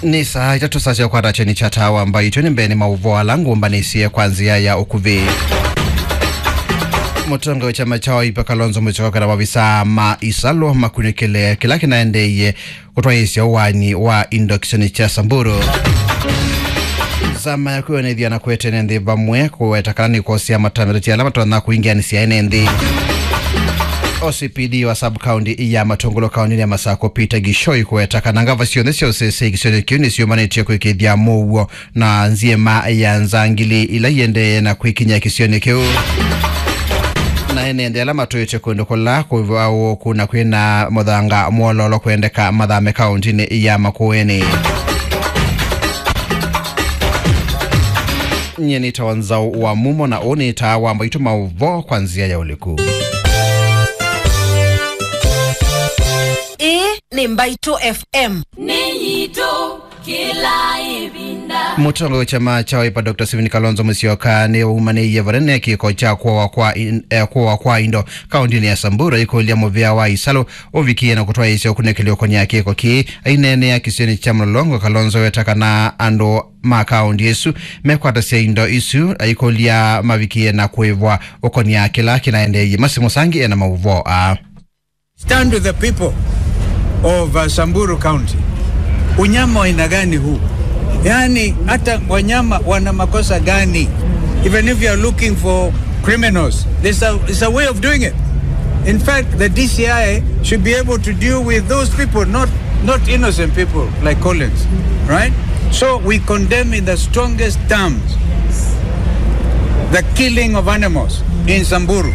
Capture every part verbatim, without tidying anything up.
Nĩ saa itatũ, saa sya kwata kyeni kya Taa wa Mbaitũ. Nĩ mbee nĩ maũvoo ala ngũmbanĩsye kwa nzĩa ya ũkuvĩ. Mũtongoi wa kyama kya Wiper Kalonzo Musyoka na maovisaa ma Isalu makunĩkĩle kĩla kĩnaendeeie kũtwaĩĩsya ũaani wa indo kĩsionĩ kya Samburu. Nzama ya kwĩonethya na kũete ene nthĩ vamwe kũweta kana nĩkũosea matambya ala matonya kũingĩanĩsya ene nthĩ. O C P D wa sub-county ya Matungulu kaũntĩnĩ ya Masakũ, Peter Gishoi, kũweta kana ngava syonthe sya ũsese kĩsionĩ kĩu nĩsyũmbanĩtye kwĩkĩĩthya mũuo na nzyĩma ya nzangili ila iendee na kwĩkinyĩa kĩsionĩ kĩu. Na ene nthĩ ala matũĩte kũndũ kũla kũvaũũku na kwĩna mũthanga mwololo kwendeka mathame kaũntĩnĩ ya Makueni. Nyie nĩtawa Nzau wa Mumo, na ũũ nĩ Taa wa Mbaitũ, maũvoo kwa nzĩa ya ũliku. Ĩĩ nĩ Mbaitũ F M. Nĩ yitũ kĩla ĩvinda. Mũtongoi wa kyama kya Wiper, Doctor Stephen Kalonzo Musyoka, nĩwaumanĩie vanene kĩko kya kũawa kwa in-, eh, kũawa kwa indo kaũntĩnĩ ya Samburu, aikũlya mũvĩa wa Isalu ũvikie na kũtwaĩĩsya ũkunĩkĩli ũkonĩa kĩko kĩĩ. Aineenea kĩsionĩ kya Mlolongo, Kalonzo weta kana andũ ma kaũntĩ ĩsu mekwatasya indo isu, aikũlya mavikie na kũĩvwa ũkonĩa kĩla kĩnaendeeie. Masi Mũsangi ena maũvoo aa. Stand with the people of, uh, Samburu County. Unyama wa aina gani huu? Yaani, hata wanyama wana makosa gani? Even if you are looking for criminals, there's a, it's a way of doing it. In fact, the D C I should be able to deal with those people, not, not innocent people like Collins, right? So we condemn in the strongest terms the killing of animals in Samburu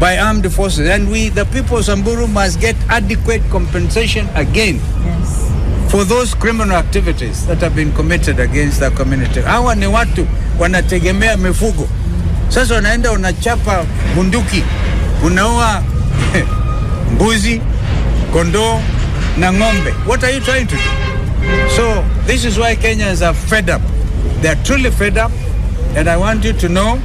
by armed forces. And we, the people of Samburu, must get adequate compensation again, yes, for those criminal activities that have been committed against the community. Hawa ni watu wanategemea mifugo. Sasa unaenda unachapa bunduki, unaua mbuzi, kondoo na ng'ombe. What are you trying to do? So this is why Kenyans are fed up. They are truly fed up. And I want you to know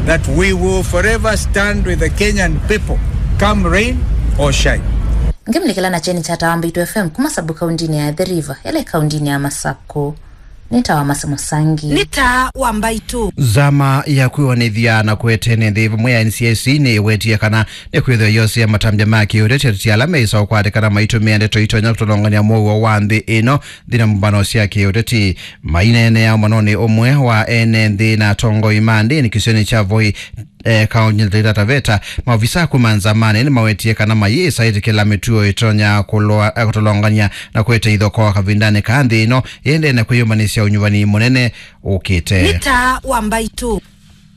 that we will forever stand with the Kenyan people, come rain or shine. Ngĩmlĩkĩla na kyeni kya Taa wa Mbaitũ F M kuma sub-county-inĩ ya Athi River, ĩla ĩ kaũntĩnĩ ya Masakũ. Nĩ Taa wa Masi Mũsangi. Nĩ Taa wa Mbaitũ. Nzama ya kwĩonethya na kũete ene nthĩ vamwe ya N C I C nĩwetie kana nĩkwĩthĩwa yosea matambya ma kĩũteti ateti ala meĩsa ũkwatĩkana maitũmĩa ndeto itonya kũtolongany'a mũuo wa nthĩ ĩno nthĩnĩ wa mbano sya kĩũteti. Maineenea ũmanonĩ ũmwe wa ene nthĩ na atongoi ma ndĩni kĩsionĩ kya Voi, eh, kaũntĩnĩ ya Taita Taveta, maovisa kuma nzamanĩ nĩmawetie kana mayĩsa ĩtĩkĩla mĩtuo ĩtonya kũlwa-, eh, kũtolongany'a na kũete ithokoo kavindanĩ ka nthĩ ĩno yĩendee na kwĩyũmbanĩsya ũnyuvani mũnene ũkĩte. Nĩ Taa wa Mbaitũ.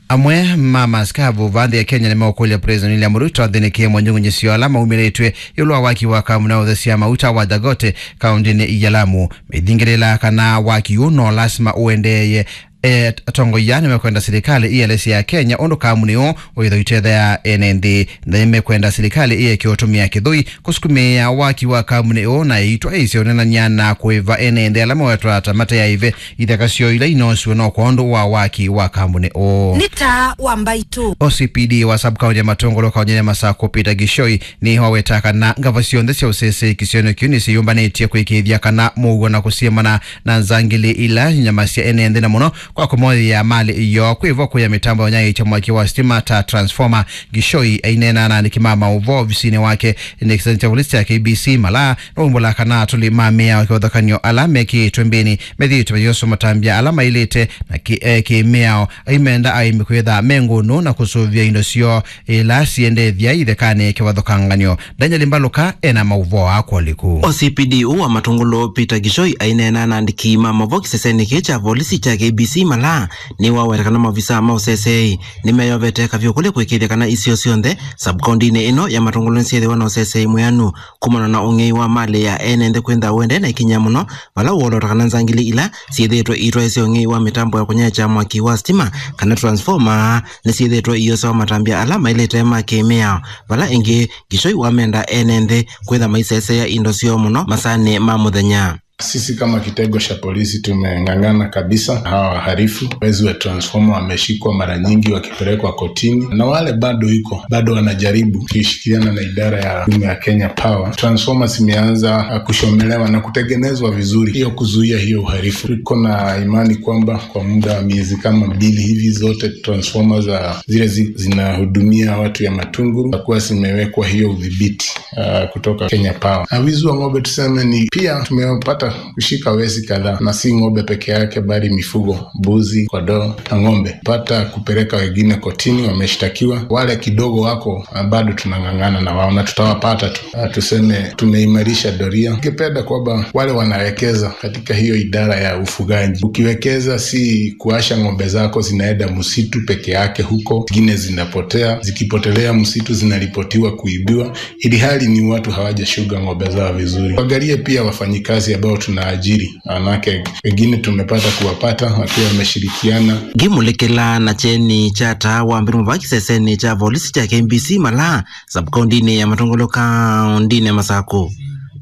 Amwe ma maskavu va nthĩ ya Kenya nĩmeũkũlya President William Ruto athĩnĩkĩe monyũng'ũnyĩsyo ala maumĩlĩtw'e ĩũlũ wa waki wa kamuna ya ũthesya mauta wa Dagote kaũntĩnĩ ya Lamu. Mĩthingĩlĩla kana waki ũũ no lasima ũendeeye. E, atongoi aa nĩmekwenda silikalĩ ĩelesya Kenya ũndũ kamuni ũũ ũĩthwa ũitethea ene nthĩ. Nĩmekwenda silikalĩ ĩeke ũtũmĩa kĩthũi kũsukumĩĩa waki wa kamuni ũũ na ĩitwaĩĩsya ũnenany'a na kũĩva ene nthĩ ala mawetwa ta mate ya ĩve ithaka syoo ila inoosiwe no kwondũ wa waki wa kamuni ũũ. Nĩ Taa wa Mbaitũ. O C P D wa sub-county ya Matungulu kaũntĩnĩ ya Masakũ, Peter Gishoi, nĩwaweta kana ngava syonthe sya ũsese kĩsionĩ kĩu nĩsyĩyũmbanĩtye kũĩkĩĩthya kana mũuo na kũsiemana na nzangili ila inyamasya ene nthĩ na mũno kwa kũmoyĩa malĩ yoo kwĩvo kũya mĩtambo ya ũnyaĩĩkya mwaki wa sitima ta transformer. Gishoi aineena na aandĩki ma maũvoo ovisinĩ wake nĩ kĩsani kya volisi kya K B C Malaa, nũmbũla kana atũli ma mĩao kĩvathũkany'o ala mekĩĩtwe mbĩnĩ methĩĩtwe mayĩoswa matambya ala maĩlĩte na kĩ-, eh, kĩ-mĩao. Aimenda aĩmi kwĩtha me ngũnũ na kũsũvĩa indo syoo ila siendethya ithekanĩ kĩvathũkangany'o. Daniel Mbaluka ena maũvoo aa kwa ũliku. O C P D ũũ wa Matungulu, Peter Gishoi, aineena na andĩki ma maũvoo kĩsesenĩ kĩĩ kya volisi kya K B C Malaa, nĩwaweta kana maovisa ma ũseseĩ nĩmeyovete kavyũ kũlĩ kũĩkĩĩthya kana isio syonthe sub-county-inĩ ĩno ya Matungulu nĩsyĩthĩwa na ũseseĩ mwĩanu kumana na ũng'ei wa malĩ ya ene nthĩ kwĩntha ũendee na ĩkinyĩa mũno vala ũolota kana nzangili ila syĩthĩĩtwe iitwaĩsya ũng'ei wa mĩtambo ya kũnyaĩĩkya mwaki wa sitima kana transformer nĩsyĩthĩĩtwe iyosewa matambya ala maĩlĩte ma kĩ-mĩao, vala ĩngĩ Gishoi wamenda ene nthĩ kwĩtha maiseseea indo syoo mũno masaanĩ ma mũthenya. Sisi kama kitengo cha polisi tumeng'ang'ana kabisa. Hawa wahalifu, wezi wa transformer, wameshikwa mara nyingi wakipelekwa kotini, na wale bado iko, bado wanajaribu, tukishirikiana na idara ya huduma ya Kenya Power. Transformers imeanza, ah, kushomelewa na kutengenezwa vizuri, hiyo kuzuia hiyo uhalifu. Tuko na imani kwamba kwa muda wa miezi kama mbili hivi, zote transformers za zile zi-, zinahudumia watu ya Matungulu zitakuwa zimewekwa hiyo udhibiti, ah, kutoka Kenya Power. Na wizi wa ng'ombe, tuseme ni pia tumepata kushika wezi kadhaa, na si ng'ombe peke yake, bali mifugo, mbuzi, kondoo na ng'ombe. Pata kupeleka wengine kotini, wameshtakiwa. Wale kidogo wako, ah, bado tunang'ang'ana na wao na tutawapata tu. Ah, tuseme tumeimarisha doria. Ningependa kwamba wale wanawekeza katika hiyo idara ya ufugaji, ukiwekeza, si kuasha ng'ombe zako zinaenda msitu peke yake huko, zingine zinapotea, zikipotelea msitu zinaripotiwa kuibiwa, ili hali ni watu hawajashuga ng'ombe zao vizuri. Angalie pia wafanyikazi ambao tunaajiri, manake wengine tumepata kuwapata wakiwa wameshirikiana. Ngĩmũlĩkĩla na kyeni kya taa wa mbere mũvaki sesenĩ kya volisi kya K B C Malaa, sub-kaũndĩnĩ ya Matungulu, kaũndĩnĩ ya Masakũ,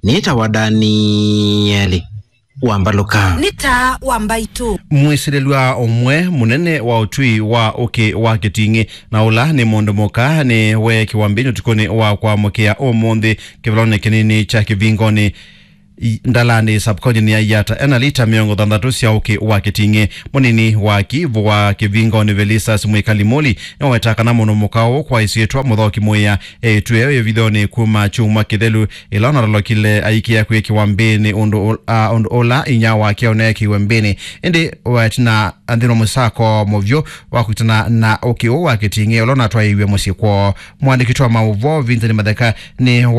nĩtawa Danieli Wambalũka. Nĩ taa wa mbaitũ. Mwĩsĩlĩlw'a ũmwe mũnene wa ũtwi wa ũkĩ wa Kĩting'ĩ, na ũla nĩ mũndũ mũka, nĩ weekiwa mbĩnĩ ũtukũnĩ wa kwamũkĩa ũmũnthĩ kĩvalonĩ kĩnini kya Kĩvingoni, i-, Ndalani, sub-kaũndĩnĩ ya Yatta, ena lita mĩongo thanthatũ sya ũkĩ wa Kĩting'ĩ. Mũnini wa kĩvũ wa Kĩvingoni, Velistas Mwĩkali Mũli, nĩwaweta kana mũndũ mũka ũũ kwa ĩsyĩtwa Mũthoki Mũĩa, eĩtw'e ĩvithonĩ kuma kyumwa kĩthelu, ĩla ũnatolokile aikĩa kwĩkĩwa mbĩnĩ ũndũ ũ-, a, ũndũ ũla inyia wake ũneekĩiwe mbĩnĩ. Ĩndĩ wetina nthĩnĩ wa mũsako mũvyũ wa kũkitana na ũkĩ ũũ wa Kĩting'ĩ ũla ũnatwaĩiw'e mũsyĩ kwoo. Mũandĩki wa maũvoo Vincent Matheka nĩ wa